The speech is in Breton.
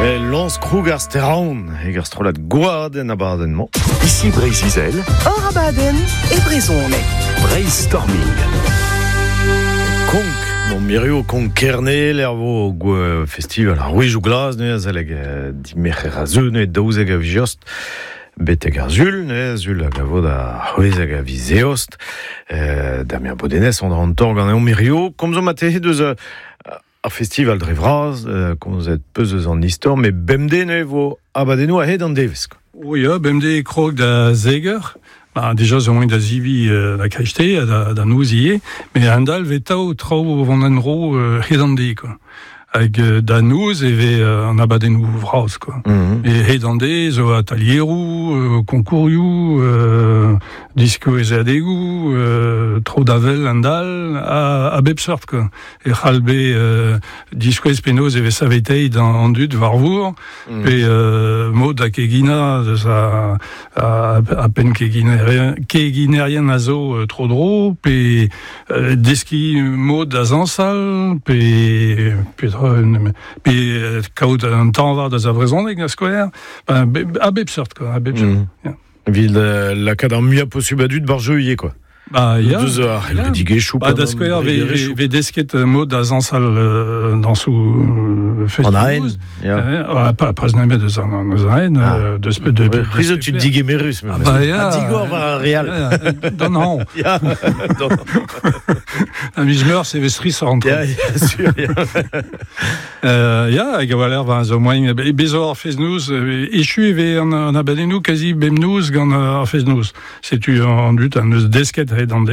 E lañs kroug ar Steraon hag ar strollad Gwad en abadenn-mañ. Ici Breizh-Izel, Hor abadenn e brezhoneg. Breizh Storming. Konk, bon mirio Konk Kerne, l'er vo gwe festival ar Rouejou Glas, ne, azaleg dimerc'her a zeu, ne, 12 a vijost, betek ar zul, ne, zul hag a vo da c'hwezek a viz eost, Damien Bodenez, on an tor gant mirio, komzo ma tehe deus ar festival dre vras, komzet peus eus an istor, met bemdez ne vo abadennoù a-hed an devezh. O ya, bemdez krog da zeger, ba, déjà zo moaien da zivi da kreiste ha da noz ivez, met a-hend-all 'vez tav traoù o vont en-dro hed an deiz, quoi. Hag da noz e vez an abadennoù vras, quoi. E hed an deiz zo atalieroù, konkourioù, diskouezadegoù, tro da wel a-hend-all, a bep seurt, quoi. E c'hall bet diskouez penaos e vez saveteit an dud war vor, pe mod da keginañ deus a, a, a penn keginerien a zo tro-dro, pe deskiñ mod da zañsal, pe pe kaout un tañva deus ar brezhoneg da skouer, a bep seurt quoi, a bep seurt. Yeah. Evit lakaat ar muiañ posubl a dud bar jeu ivez quoi. Ba ya. Deus ar c'hevredigezhioù. Ba da skouer ve desket mod da zañsal dañsoù An aen. Ya. Pa pas nemet deus an eus aen deus de C'hwi zo tud digemerus memes. Ba ya. Ha digor war ar re all. D'an hañv. Ya. A miz Meurzh e vez strisoc'h an traoù. Ya, sûr. Ya, hag a-walc'h ba zo moaien bez zo ar fest-noz echu e vez an abadennoù kazi bemnoz gant ar fest-noz. Setu an dud an deus desket hed an deiz.